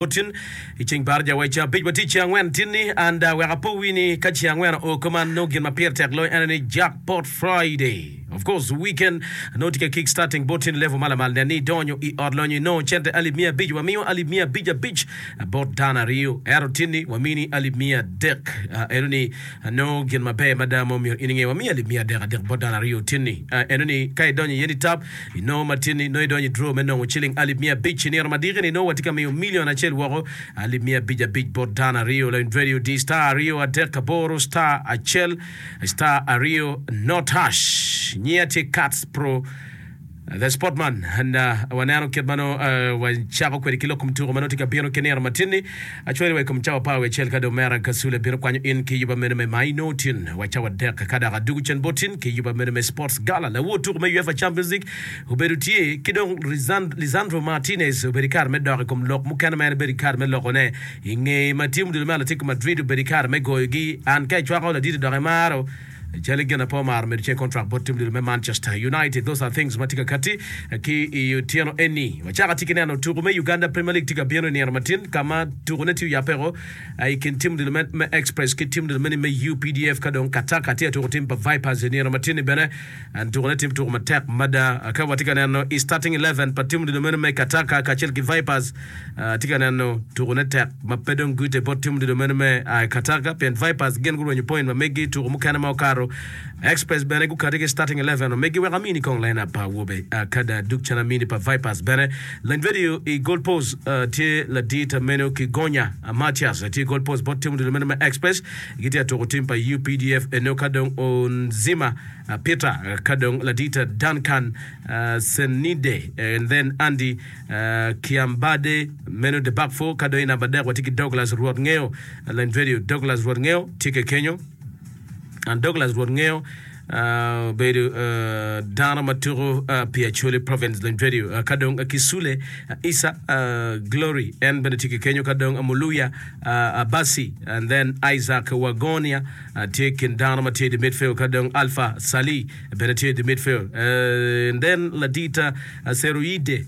Tin i ceng baraja wa i ceng abic watye i ceng angwen tin-ni and wek apo wi ni ka ceng angwen oo kuman nongo gin ma pire tek loyo en aye ni Jackpot Friday. Of course weekend nongo tye ka kick starting bot tin level ma lamal nen ni idonyo i ot lonyo inongo cente alip miya abic wamiyo alip miya abic abic bot dano aryo ento tin-ni wamini alip miya adek eno ni nongo gin maber mada ma omyero in inge wamiyo alip miya adek adek bot dano aryo tin-ni eno ni ka idonyo iye ni tap Inongo matin-ni, nongo idonyo i draw me nongo ciling alip miya abic. I nino madiki-ni, nongo watye ka miyo milion acel woko, alip miya abic abic bot dano aryo. Lawiny radio di star aryo adek aboro star acel star aryo not hash. Nyinga tye Kats Pro The Sportman and uh, waneno kit ma nongo uh, wacako kwede ki lok kom tuko ma nongo tye ka bino ki nino matin-ni. Acwali wa i kom cawa apar wiye acel ka dong mera Kasule bino kwanyo in ki yuba meno me ma inongo tin wa cawa adek ka dok adugu cen bot tin ki yuba meno me Sports Gala. Lawor tuko me UEFA Champions League obedo tye ki dong Lisandro Martinez obedo i kare me dok i kom lok mukene ma en obedo i kare me loko ne i nge ma tim odilo me Atletico Madrid obedo i kare me goyogi. An ka icwako laditi dok imaro Calo gin ape omaro medo ceng kontrak bot tim odilo me Manchester United. Those are things ma tye ka kati ki i otyeno eni. Wacako atye ki neno tuku me Uganda Premier League tye ka bino i nino matin ka ma tuku ne tye oyabbeko i kin tim odilo me Express ki tim odilo meni me UPDF ka dong Kataka tye ka tuku tim pa Vipers i nino matin ni bene tuku ne tye tuku matek mada ka watye ka neno i starting 11 pa tim odilo meno me Kataka kacel ki Vipers Atye ka neno tukone tek ma pe dong gute bot tim odilo meno me a i Kataka pien Vipers gin gurwenyo point ma meggi i tuko mukene ma okato. Express bene gukati ki starting eleven ma meggi wek amini kong line up pa awobe kada duk cen amini pa Vipers bene. Lany radio i goal post tye ladit meno Kigonya Mathias tye i goal post bot tim odilo meno me Express gitye ka tuko tim pa UPDF eno ka dong Onzima Peter ka dong ladit Duncan Senide and then Andy Kiambade meno the back four ka dong i namba adek watye ki Douglas Rwot Ngeo lany radio Douglas Rwot Ngeo tye ke kenyo and Douglas Rwot Ngeo obedo dano ma tuko pi Acholi province lany radio ka dong Kisule Isa Glory en bene tye ke kenyo ka dong Muluya Abasi and then Isaac Wagonia tye kin dano ma tye i the midfield ka dong Alpha Sali bene tye i the midfield and then ladita Ceruide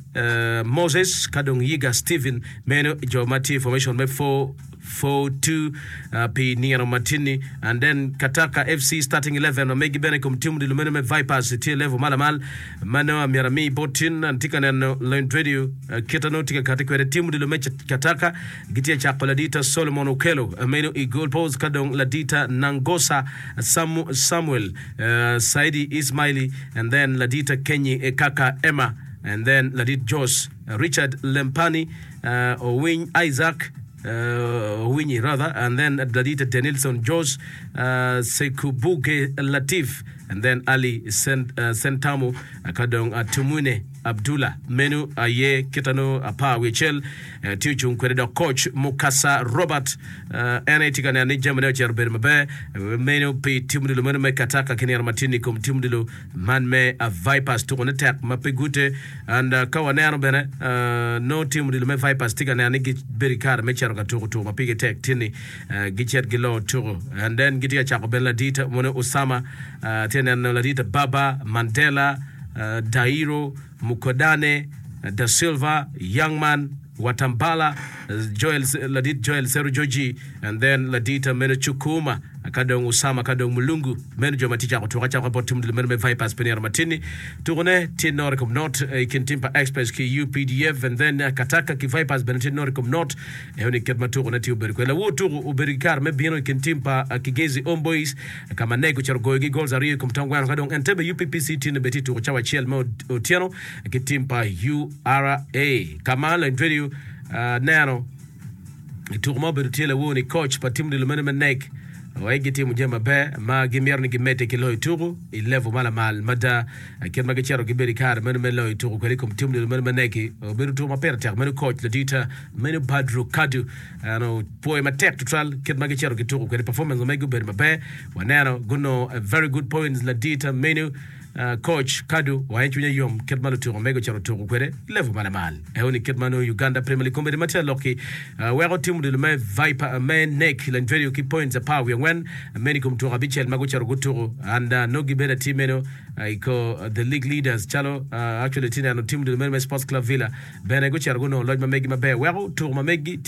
Moses ka dong Yiga Steven meno jo ma tye i formation me 4-4-2 pi nino matinni and then Kataka FC starting 11 ma megi bene i kom tim odilo meno me Vipers tye level ma lamal ma nongo amyero ami bot tin atye ka neno Lend Radio kita nongo tye ka kati kwede tim odilo me Kataka gitye ka cako ladita Solomon Okello meno i goal post ka dong ladita Nangosa Samuel Saidi Ismaili and then ladit Kenyi Kaka Emma and then ladit Jos Richard Lempani Owiny Isaac Owinyi rather and then ladit Denilson Jos Sekubuge Latif and then Ali Sentamu ka dong Tumwine Abdullah meno aye kita nongo apar wiye acel tye ocung kwede dok coach Mukasa Robert en aye tye ka neno ni jamine ocito obedo maber meno pi tim odilo meno me Kataka ki nino matin i kom tim odilo man me Vipers tukone tek ma pe gute and ka waneno bene nongo tim odilo me Vipers tye ka neno ni gibedo ki kare me cito ka tuko tuko ma pigi tek tin ni gicit gilo tuko and then gitye ka cako bene ladit moni Osama tye ka neno ladit Baba Mandela Dairo Mukodane, Da Silva, Youngman, Watambala, Joel, ladit Joel Serujoji, and then ladit meno Chukuma, ka dong Usama ka dong Mulungu. Meno jo ma tye cako tuko acaka bot tim odilo meno me Vipers pi nino matin-ni. Tukone tye not i kom not i kin tim pa Express ki UPDF and then Kataka ki Vipers bene tye not i kom not. Eno ni kit ma tukone tye obedo kwede. Lawor tuko obedo ki kare me bino i kin tim pa Kigezi Homeboyz ka ma Nek ocito goyogi goals aryo i kom tong gweno ka dong Entebbe UPPC tye bene tye i tuko cawa acel me otyeno ki tim pa URA ka ma Lendredio neno i tuko ma obedo tye lawor ni coach pa tim odilo meno me Nek wek gitimo jami maber ma gimito ni gimedde ki loyo tuko i level ma lamal mada kit ma gicito gibedo i kare meno me loyo tuko kwede i kom tim odilo meno me Nek-ki obedo tuko ma pire tek meno coach ladita Meno Badru Kadu en opwoyo matek tutwal kit ma gicito gituko kwede performance ma megi obedo maber waneno gunongo a very good points ladita menu. Coach Kadu wange cwinye yom kit ma lutuko mege ocito tuko kwede i level ma lamal. Eo ni kit ma nongo Uganda Premier League kombeddi ma tye alok-ki weko tim odilo me Viper me nek Lanverio ki points 14 meno i kom tuko abicel ma gucito gutuko and nongo gibedo atir meno i ko the league leaders calo actually itye neno tim odilo meno me Sports Club Villa bene gucito gunongo loc ma megi maber weko tuko ma megi tye.